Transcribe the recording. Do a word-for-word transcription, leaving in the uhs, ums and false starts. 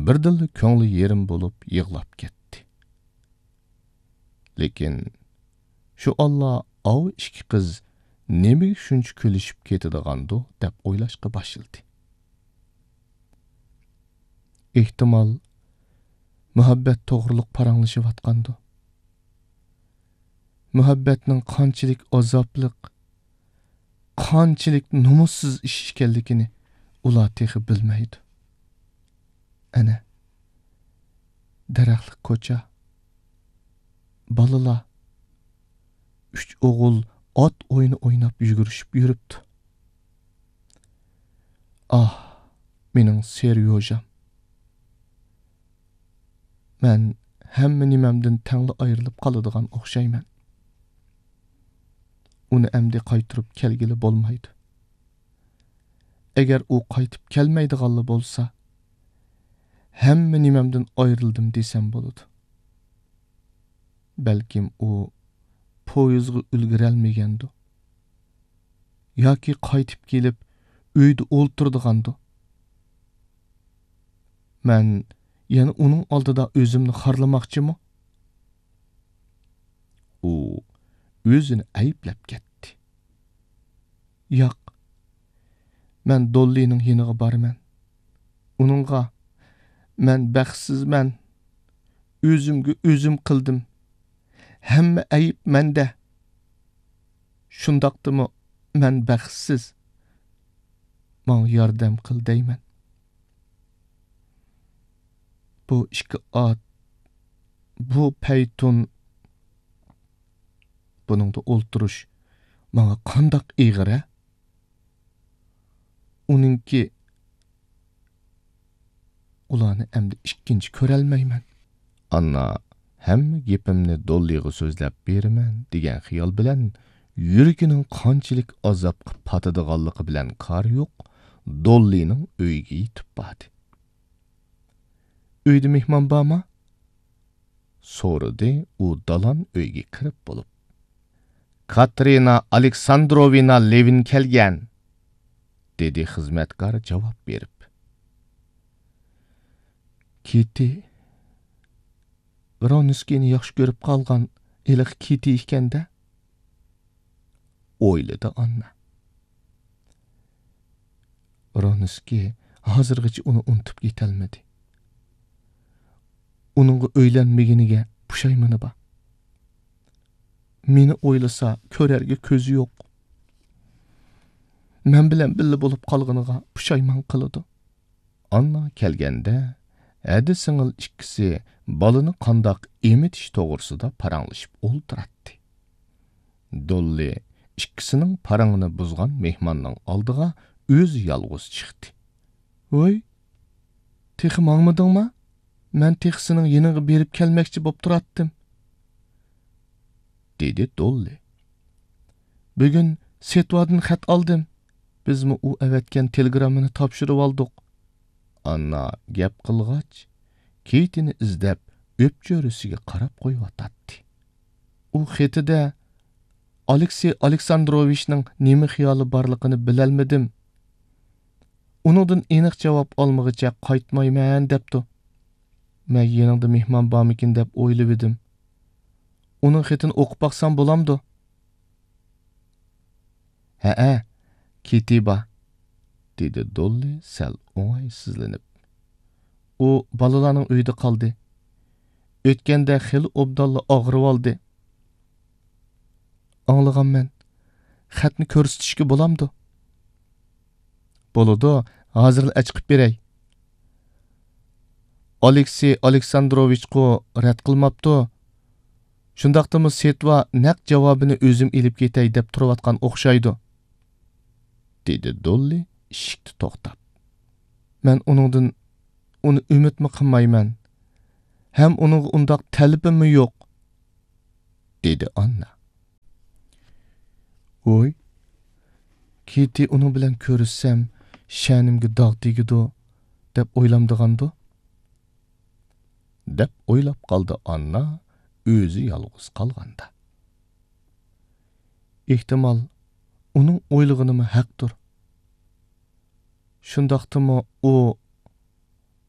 بىردىنلا كۆڭلى يېرىم بولۇپ يىغلاپ كەتتى. لېكىن شۇ ئاللا ئاۋۇ ئىككى قىز نېمىگە شۇنچە كۈلۈشۈپ كېتىدىغاندۇ دەپ ئويلاشقا باشلىدى. ئېھتىمال، مۇھەببەت توغرۇلۇق پاراڭلىشىۋاتقاندۇ؟ مۇھەببەتنىڭ قانچىلىك ئازابلىق، قانچىلىك نومۇسسىز ئىش ئىكەنلىكىنى ئۇلار تېخى بىلمەيدۇ. ئەنە، دەرەخلىك كوچا، بالىلار، ئۈچ ئوغۇل ئات ئويۇنى ئويناپ يۈگۈرۈشۈپ يۈرۈپتۇ. ئاھ، مېنىڭ سېريوژام! مەن ھەممە نېمەمدىن تەڭلا ئايرىلىپ قالىدىغان ئوخشايمەن. ئۇنى ئەمدى قايتۇرۇپ كەلگىلى بولمايدۇ. ئەگەر ئۇ قايتىپ كەلمەيدىغانلا بولسا، ھەممە نېمەمدىن ئايرىلدىم دېسەم بولىدۇ. بەلكىم ئۇ پويىزغا ئۈلگۈرەلمىگەندۇ. ياكى قايتىپ كېلىپ ئۆيدە ئولتۇرىدىغاندۇ. مەن يەنە ئۇنىڭ ئالدىدا ئۆزۈمنى خارلىماقچىمۇ؟ ئۇ ئۆزىنى ئەيىبلەپ كەتتى. ياق، مەن دوللىنىڭ يېنىغا بارىمەن. ئۇنىڭغا، مەن بەختسىزمەن، ئۆزۈمگە ئۆزۈم قىلدىم، ھەممە ئەيىب مەندە، شۇنداقتىمۇ مەن بەختسىز، ماڭا ياردەم قىل دەيمەن. بۇ ئىككى ئات، بۇ پەيتۇن، بۇنىڭدا ئولتۇرۇش ماڭا قانداق ئېغىر-ھە؟ ئۇنىڭكى، ئۇلارنى ئەمدى ئىككىنچى كۆرەلمەيمەن. ئاننا ھەممە گېپىمنى دوللىغا سۆزلەپ بېرىمەن دېگەن خىيال بىلەن يۈرىكىنىڭ قانچىلىك ئازابقا پاتىدىغانلىقى بىلەن كارى يوق، دوللىنىڭ ئۆيىگە يېتىپ باردى. ئۆيدە مېھمان بارما؟ سورىدى ئۇ دالان ئۆيگە كىرىپ بولۇپ. كاترىنا ئالېكساندروۋنا لېۋىن كەلگەن، دېدى خىزمەتكار جاۋاب بېرىپ. كىتى، ۋرونسكىينى ياخشى كۆرۈپ قالغان ھېلىقى كىتى ئىكەن-دە، ئويلىدى ئاننا. ۋرونسكىي ھازىرغىچە ئۇنى ئۇنتۇپ يېتەلمىدى. ئۇنىڭغا ئۆيلەنمىگىنىگە پۇشايمىنى بار. مېنى ئويلىسا كۆرەرگە كۆزى يوق. مەن بىلەن بىللە بولۇپ قالغىنىغا پۇشايمان قىلىدۇ. ئاننا كەلگەندە، ھەدە سىڭىل ئىككىسى بالىنى قانداق ئېمىتىش توغرىسىدا پاراڭلىشىپ ئولتۇراتتى. دوللى ئىككىسىنىڭ پاراڭىنى بۇزغان مېھماننىڭ ئالدىغا ئۆزى يالغۇز چىقتى. ۋوي، تېخى ماڭمىدىڭما؟ مەن تېخى سېنىڭ يېنىڭغا بېرىپ كەلمەكچى بوپ تۇراتتىم، دېدى دوللى. بۈگۈن سېتۋادىن خەت ئالدىم. بىزمۇ ئۇ ئەۋەتكەن تېلېگراممىنى تاپشۇرۇۋالدۇق. ئاننا گەپ قىلغاچ، كېيتىنى ئىزدەپ، ئۆپچۆرىسىگە قاراپ قويۇۋاتاتتى. ئۇ خېتىدە ئالېكسېي ئالېكساندروۋىچنىڭ نېمە خىيالى بارلىقىنى بىلەلمىدىم. ئۇنىڭدىن ئېنىق جاۋاب ئالمىغىچە قايتمايمەن دەپتۇ. مەن يېنىڭدا مېھمان بارمىكىن دەپ ئويلىۋىدىم. ئۇنىڭ خېتىنى ئوقۇپ باقسام بولامدۇ؟ ھەئە، كېتى بار، دېدى دوللى سەل ئوڭايسىزلىنىپ. ئۇ بالىلارنىڭ ئۆيىدە قالدى. ئۆتكەندە خېلى ئوبدانلا ئاغرىۋالدى. ئاڭلىغانمەن. خەتنى كۆرسىتىشكە بولامدۇ؟ بولىدۇ، ھازىرلا ئەچىقىپ بېرەي. ئالېكسېي ئالېكساندروۋىچقۇ رەت قىلماپتۇ. شۇنداقتىمۇ سېتۋا نەق جاۋابىنى ئۆزۈم ئېلىپ كېتەي دەپ تۇرۇۋاتقان ئوخشايدۇ، دېدى دوللى ئىشىكتە توختاپ. مەن ئۇنىڭدىن ئۇنى ئۈمىدمۇ قىلمايمەن. ھەم ئۇنىڭغا ئۇنداق تەلىپىممۇ يوق، دېدى ئاننا. ۋوي، كېتى ئۇنىڭ بىلەن كۆرۈشسەم، شەنىمگە داغ تېگىدۇ، دەپ ئويلامدىغاندۇ؟ دەپ ئويلاپ قالدى ئاننا ئۆزى يالغۇز قالغاندا. ئېھتىمال، ئۇنىڭ ئويلىغىنىمۇ ھەقتۇر. شۇنداقتىمۇ ئۇ